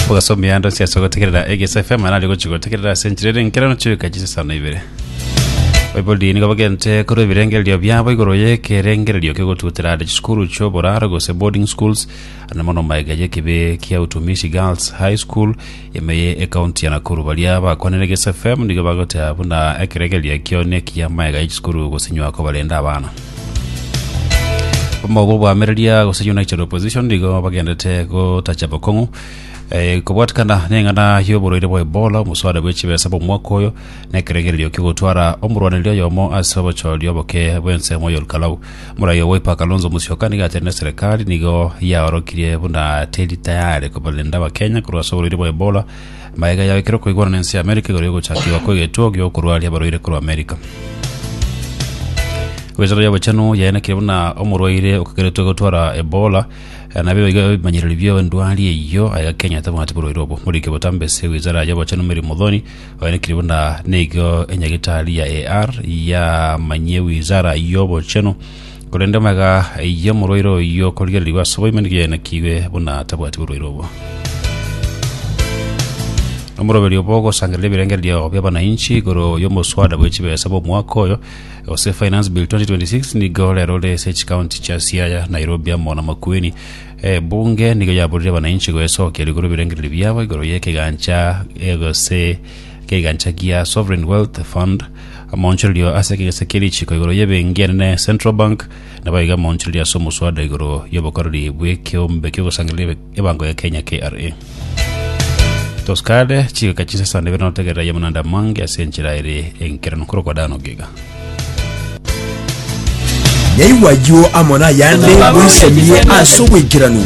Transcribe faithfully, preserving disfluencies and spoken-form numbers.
Ogasomia ando siasa gotegerera Egesa F M nari gochi gotegerera ase enchera ere nkerano chiweka chisesano ibere. Baibori nigo bagente korwa ebirengererio biabo igoro y'ekerengererio kegotutera ande chisukuru chioboraro gose boarding schools ande mono maega y'ekibe kia Utumishi Girls High School ime ye ekaunti ya Nakuru. Baria bakwanire Egesa F M nigo bagoteba buna ekerengererio ekio nekiya maega y'echisukuru gosinywa kobarenda abana. Omogo bwamereria gose United Opposition nigo bagendete gotacha bokong'u eh, kobwatikana neng'ana y'oborwaire bwa Ebola, omuswada bwe chibesa bw'omwaka oyo nekerengererio kegotwara omorwaneria oyomo ase obochori oboke bw'ensemo ya Olkalau. Morai o Wiper Kalonzo Musyoka nigo aterire serikali nigo yaorokirie buna teri tayari kobarenda abakenya korwa ase oborwaire bwa Ebola maega yaikire koigwana n'ense ya Amerika igoro yogochakiwa kwa egetuo giokorwaria abarwaire korwa Amerika. Wizara y'obochenu yaenekire buna omorwaire okageretwe gotwara Ebola eh, nabio iga ebimanyereri bia endwari eyio aiga Kenya tabwati borwaire obo. Morike botambese wizara y'obochenu Mary Muthoni oenekire buna nigo enyagitari ya A R yamanyie wizara y'obochenu korende maega y'omorwaire oyio korigereriwa ase oboime nigo yaenekiwe buna tabwati borwaire obo. Omoroberi obo ogosangereria ebirengererio bia abananchi igoro y'omoswada bwe chibesa bw'omwaka oyo gose Finance Bill twenty twenty-six nigo rero ore ase chikaunti chia Siaya, Nairobi amo na Makueni. Eh, bunge nigo yaborire abananchi goesokia rigoro ebirengererio biabo igoro y'ekegancha eh, gose kegancha gia Sovereign Wealth Fund, amaonchorerio ase ekegese kia richiko igoro y'ebenki enene Central Bank, nabo iga amaonchorerio ase omoswada igoro y'obokoreri bw'ekeombe kiogosangereria ebango ya Kenya K R A. Toskade chigeka chinsesane bere notegerera yamunanda mange ase enchera ere enkerano korokwa dano giga. Nyaigwa ayio amo nayande moisemie ase obwaikeranu.